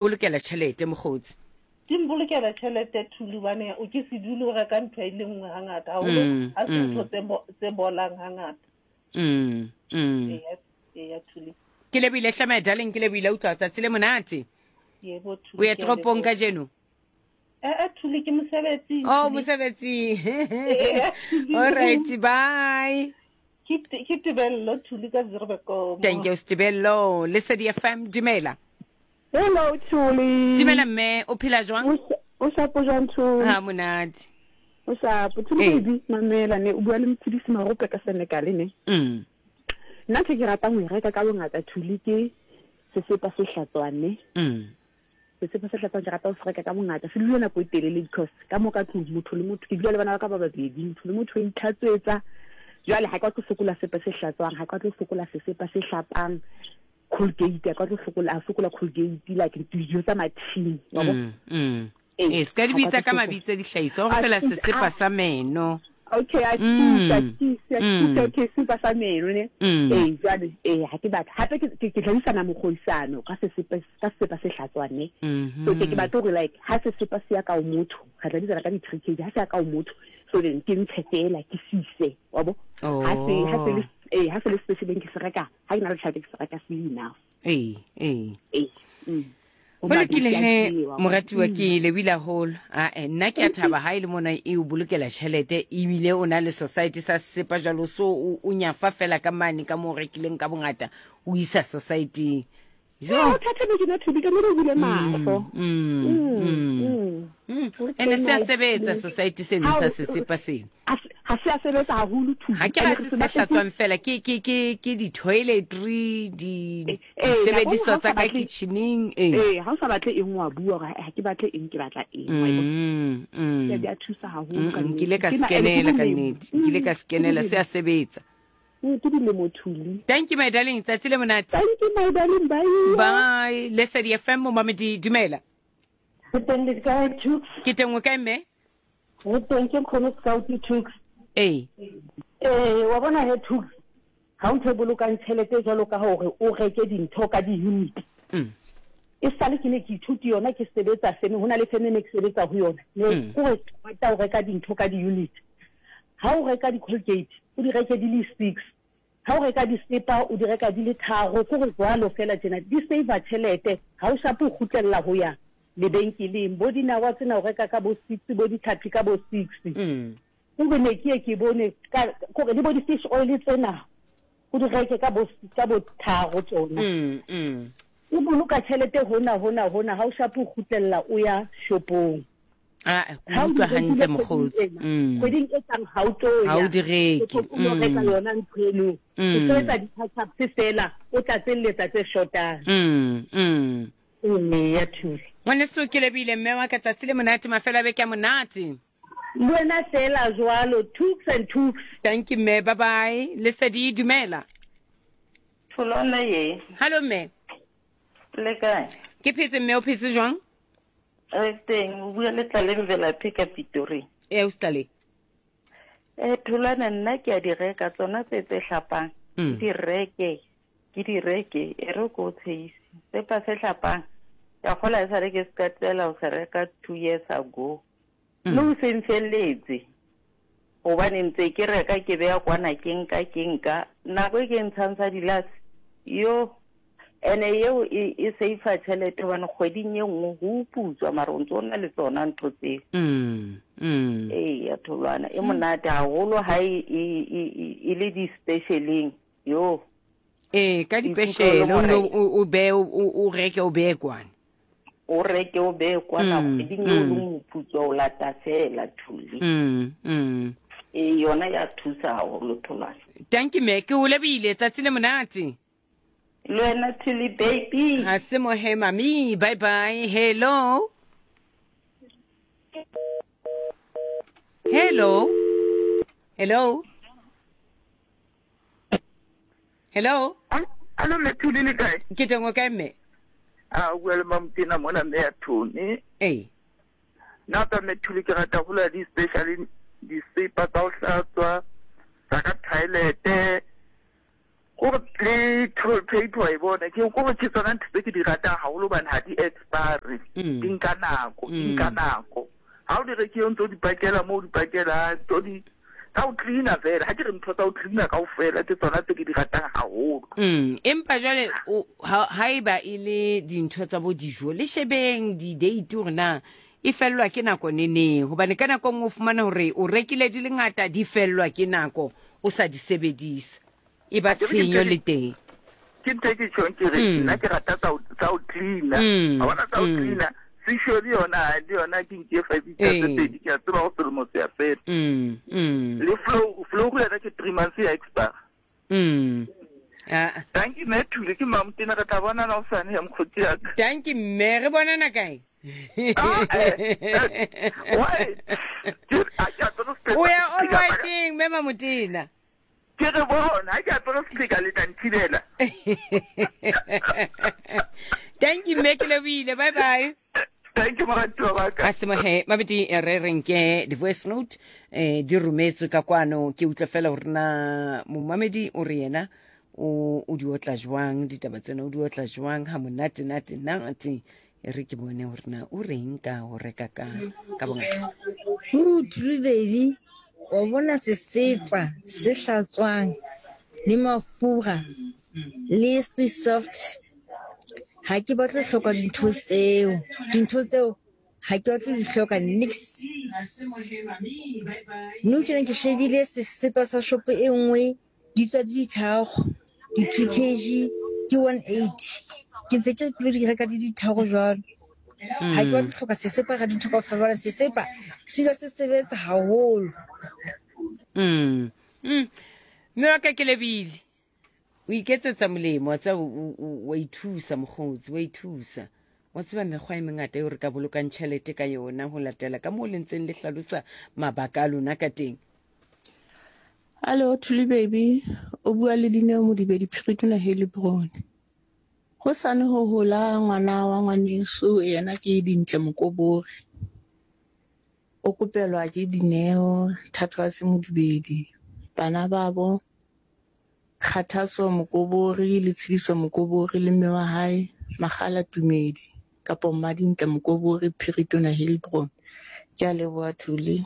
Bolokela tšhelete, mokgotsi. Di mbolokela tšhelete Thuli gobane o ke se dule o reka ntho e le nngwe hangata haholo Mm, ha se mm. ntho tse bo- tse bolang hangata. Mm, mm. Eya, eya Thuli. Ke lebohile hle my darling, ke lebohile utlwa tsatsi le monate. Yebo Thuli. O ye ke a toropong leboha. kajeno? Eh, eh, Thuli ke mosebetsing. Oh, Thuli. mosebetsing. Eya, Thuli. All right, bye. Ke ke Tebello Thuli ka Zirbekomo. Thank you Tebello. Lesedi FM dumela. Hello Thuli. Dumela mme, o phela jwang? O shapo jwang Thuli? Ha monate. O shapo. Thuli Ee. baby, mamela ne o bua le Mphidisi Marope ka Senegal ne. Nna ntho e ke ratang ho e reka ka bongata Thuli ke sesepa se hlatswang ne. Sesepa se hlatswang ke rata ho se reka ka bongata. Se dula nako e telele because ka mo ka tlung motho le motho ke dula le bana ba ka ba babedi, motho le motho o itlhatswetsa. Jwale ha ke batle ho sokola sepe se hlatswang, ha ke batle ho sokola sesepa se hlapang. Colgate a ka tlo sokola a sokola Colgate like dijo tsa mathini wa bo Ee, se ka di bitsa ka mabitso a dihlahiswa gore fela sesepa sa meno. Okay, a thusa, thusa, thusa, okay, sepa sa meno ne. Ee, jwale ee ha ke batla hape ke ke tla mokgoisano ka sesepa ka sesepa se hlatswang ne. So ke ke batla hore like ha sesepa se ya ka o motho, re tla bitsana ka di 3 kg ha se ya ka o motho, so then ke ntshe fela ke sise, wa bo. Ha se ha se le ee ha se le specialeng ke se reka ha ke na le tšhelete ke se reka se enough. Ee, ee. Ee. Go lokile he moratiwa ke lebile haholo. Ae nna ke a thaba ha e le mona e o bolokela tšhelete ebile o na le society sa sepa jalo so o nyafa fela ka mane ka mo o rekileng ka bongata o isa society. Jo. O thatha be ke na thubi ka mo re bule mahlo. Ene se a sebetsa society seno sa sesepa seno. Ga se a sebetsa haholo thubi. Ga ke ra se se hlatswang fela ke ke ke ke di toiletry di disebediswa tsa ka kitcheneng ee. Ee, ha o sa batle eng wa bua gore ha ke batle eng ke batla eng. Wa e bona? Di a thusa haholo ka nnete. Nkile ka skenela ka nnete. Nkile ka skenela se a sebetsa. Ke dilemo Thuli. Thank you my darling, tsatsi le monate. Thank you my darling, bye. Bye. Lesedi FM momamedi dumela. Ke teng le kae Tuks? Ke teng o kae mme? Re teng ke nkgono Scout Tuks. Ee. Ee, wa bona he Tuks, ha o ntho e bolokang tjhelete jwalo ka hore o reke dintho ka di-unit. E sale ke ne ke ithuti yona ke sebetsa feme, ho na le feme ne ke sebetsa ho yona. Ne kore qeta ho reka dintho ka di-unit. Ha o reka di-Colgate, o di reke di le 6. Ha o reka disepa, o di reka di le tharo. Kore jwalo fela tjena, di save-a tjhelete. Ha o shape o kgutlella ho ya lebenkeleng. Bo dinawa tsena o reka ka bo 6, bo ditlhapi ka bo 6. Kore ne ke ye ke bone ka, kore le bo di-fish oil tsena, o di reke ka bo, ka bo tharo tsona. O boloka tjhelete hona, hona, hona, ha o shape o kgutlella o ya shopong. Ah, ke utlwa hantle mokgotsi. Kgweding e tlang ha o tlo ya. Ha o di reke. O tlo reka yona ntho eno. O tlo etsa di-touch-ups fela, o tlatselletsa tse shotang. Ee, ya thusa. Ngwaneso ke lebile mme wa ka tsatsi le monate mafelo a beke a monate. Le wena fela jwalo, tooks and tooks. Thank you mme, bye bye. Lesedi dumela. Tholwana ye. Hallo mme. Le kae? Ke phetse mme, o phetse jwang? Re teng, o bua le Tlaleng Velaphi ka Pitori. Ee, o Tlaleng. Eh, Tholwana nna ke a di reka tsona tse tse hlapang. Ke di reke, ke di reke, e re ko tshehise. Sepa se hlapang, ka kgola e sale ke se ka tlela ho se reka 2 years ago. Le ho se nfelletse. Hobane ntse ke reka ke beya kwana ke nka ke nka. Nako e ke ntshang sa dilase, yo ene eo e, e save tjhelete hobane kgweding e nngwe ho putswa mara o ntse o na le tsona ntho tseo. Ee, ya tholwana e monate haholo ha e, e, e, e, e le di-specialeng yo. Ee, ka dipeshele o no o be o reke o beye kwana. O reke o beye kwana kgweding eo leng ho putswa o lata fela Thuli. Ee, yona ya thusa haholo tholwana. Thank you me, ke o lebile tsatsi le monate. Le wena Thuli baby. Ha se mo he mami, bye bye. Hello. Hello. Hello. Hello. Alo mme Thuli le kae? Ke teng o kae mme? A o bua le Mamotena mona mme ya Thoni. Ee. Nna tsa mme Thuli ke rata ho di special disepa tsa ho hlatswa tsa ka toilet. Kore le toilet paper wa e bona ke kore ke tsona ntho tse ke di ratang haholo hobane ha di expire di nka nako di nka nako ha o di rekile o ntso di pakela mo o di pakelang tso di tsa ho cleaner fela ha ke re ntho tsa ho cleaner kaofela ke tsona tse ke di ratang haholo. Empa jwale ha haeba e le dintho tsa bo dijo le shebeng di date hore na e fellwa ke nako neneng hobane ka nako nngwe o fumana hore o rekile di le ngata di fellwa ke nako o sa di sebedisa e ba tshenyo le teng. Ke ntho e ke tjhong ke re nna ke rata tsa ho cleaner wa bona tsa ho cleaner sisho le yona le yona ke nke 5 liter tse pedi ke a tseba go selemo se ya fela le flow flow yona ke 3 months ya expire. Thank you mme Thule ke Mamotena re tla bonana hosane ya mokgotsi ya ka. Thank you mme re bonana kae? Ah, eh, eh, why? Ke a ke apere sepheka. O ya all whiteng mme Mamotena. Ke re bona ha ke apere sepheka le tla nthibela. Thank you mme ke lebohile bye bye. Thank you moratuwa wa ka. A semohe mabedi re reng ke di-voice note eh di rometswe ka kwano ke utlwe fela gore na momamedi o re yena o o di otla jwang ditaba tsena o di otla jwang ha monate nate nate e re ke bone gore na o reng ka go reka ka ka bongata. Ooh, true baby. Wa bona sesepa se hlatswang le mafura le se soft Ha ke batle ho hloka dintho tseo. Dintho tseo ha ke batle ho di hloka niks. Nou tjena ke shebile sesepa sa shopo e nngwe di tswa di ditharo, di-two kg ke 180. Ke ntse ke re ke lo di reka di ditharo jwalo. Ha ke batle ho hloka sesepa ka dintho kaofela hobane sesepa se dula se sebetsa haholo. Mme wa ka ke lebile. O iketsetsa molemo, wa tseba, wa ithusa mokgotsi, wa ithusa. Wa tseba mekgwa e mengata eo re ka bolokang tjhelete ka yona ho latela ka moo le ntseng le hlalosa mabaka a lona ka teng. Hallo Thuli baby, o bua le Dineo Modibedi Phiritona Heilbron. Hosane ho hola ngwana wa ngwaneso yena ke Dintle Mokobori. O kopelwa ke Dineo Thathwase Modibedi, bana babo Kgathatso Mokobori le Tshidiso Mokobori le mme wa hae Makgala Tumedi kapo Mmadintle Mokobori Phiritona Heilbron. Ke a leboha Thuli.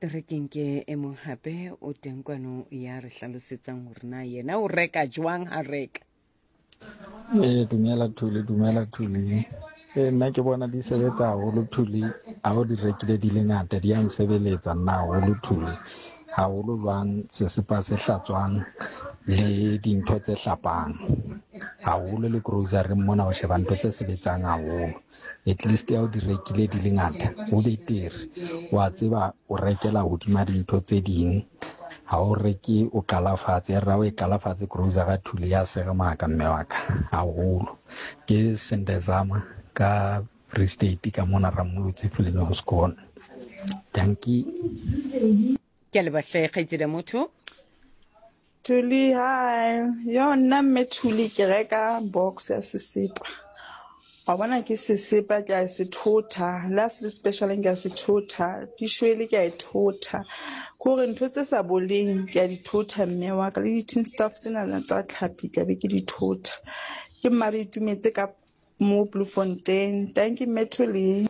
Re ke nke e mong hape o teng kwano ya re hlalosetsang hore na yena o reka jwang ha reka. Ee, dumela Thuli, dumela Thuli. Ee, nna ke bona di sebetsa haholo Thuli, ha o di rekile di le ngata di ya nsebeletsa nna haholo Thuli. Haholo jwang sesepa se hlatswang le dintho tse hlapang. Haholo le grocery mona o sheba ntho tse sebetsang haholo. At least ha o di rekile di le ngata ho betere, wa tseba o rekela hodima dintho tse ding. Ha o reke o qala fatshe, ya re ha o e qala fatshe grocery thule ya seremaka mme wa ka haholo. Ke Sendezama ka Free State ka mona Rammolotsi Fuleng ho Sekone. Dankie. Ke a leboha hle kgaitsedi ya motho. Thuli, hi. Yo nna mme Thuli ke reka box ya sesepa. Wa bona ke sesepa ke a se thotha, le ha se le special ke a se thotha, fishwele ke a e thotha. Ke hore ntho tse sa boleng ke a di thotha mme wa ka le di-tin stuff tsena tsa tlhapi tla be ke di thotha. Ke mma re itumetse ka mo Bloemfontein. Thank you mme Thuli.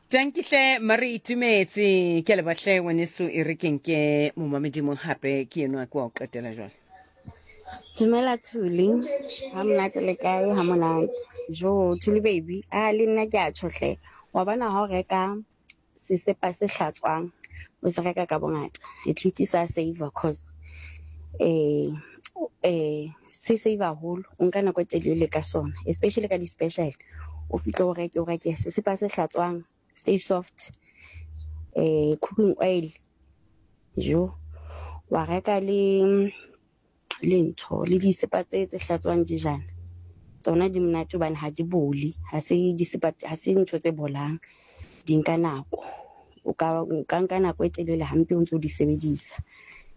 Tanki hle mare itumetse ke leba hle ngwaneso e re ke nke momamedimo hape ke enwa ke wa o qetela jwale. Dumela Thuli, ha monate le kae? Ha monate. Jo, Thuli baby, a le nna ke a tjho hle. Wa bona ha o reka sesepa se hlatswang, o se reka ka bongata. At least sa save cause eh eh se save haholo. O nka nako e telele ka sona, especially ka di-special. O fihle o reke o reke sesepa se hlatswang, stay soft, eh cooking oil. Jo, wa reka le le ntho le disepa tse tse hlatswang dijana. Tsona di monate hobane ha di bole, ha se disepa ha se ntho tse bolang. Di nka nako. O ka o ka nka nako e telele hampe o ntso di sebedisa.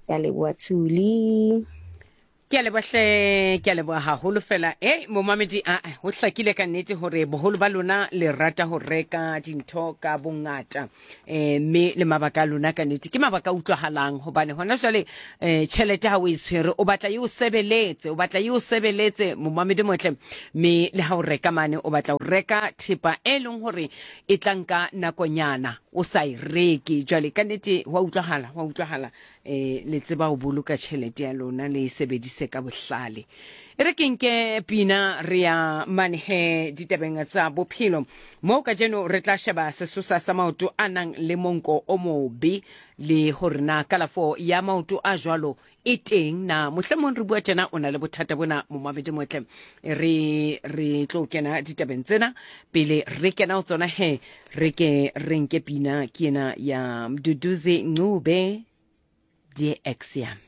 Ke a leboha Thuli. Ke a leboha hle, ke a leboha haholo fela. Ei, momamedi, a ho hlakile ka nnete hore boholo ba lona le rata ho reka dintho ka bongata. Eh, mme le mabaka a lona ka nnete ke mabaka a utlwahalang hobane hona jwale eh tjhelete ha o e tshwere o batla e o sebeletse, o batla e o sebeletse momamedi motle. Mme le ha o reka mane o batla ho reka thepa e leng hore e tla nka nakonyana o sa e reke. Jwale ka nnete ho a utlwahala, ho a utlwahala. E, le tseba ho boloka tšhelete ya lona le e sebedise ka bohlale. E re ke nke pina re ya mane he ditabeng tsa bophelo moo kajeno re tla sheba sesosa sa maoto a nang le monko o mobe le hore na kalafo ya maoto a jwalo e teng na. Mohlomong re bua tjena o na le bothata bona momamedi motle. Re re tlo kena ditabeng tsena pele re kena ho tsona he re ke re nke pina ke ena ya Mduduzi Ncube die ex yami.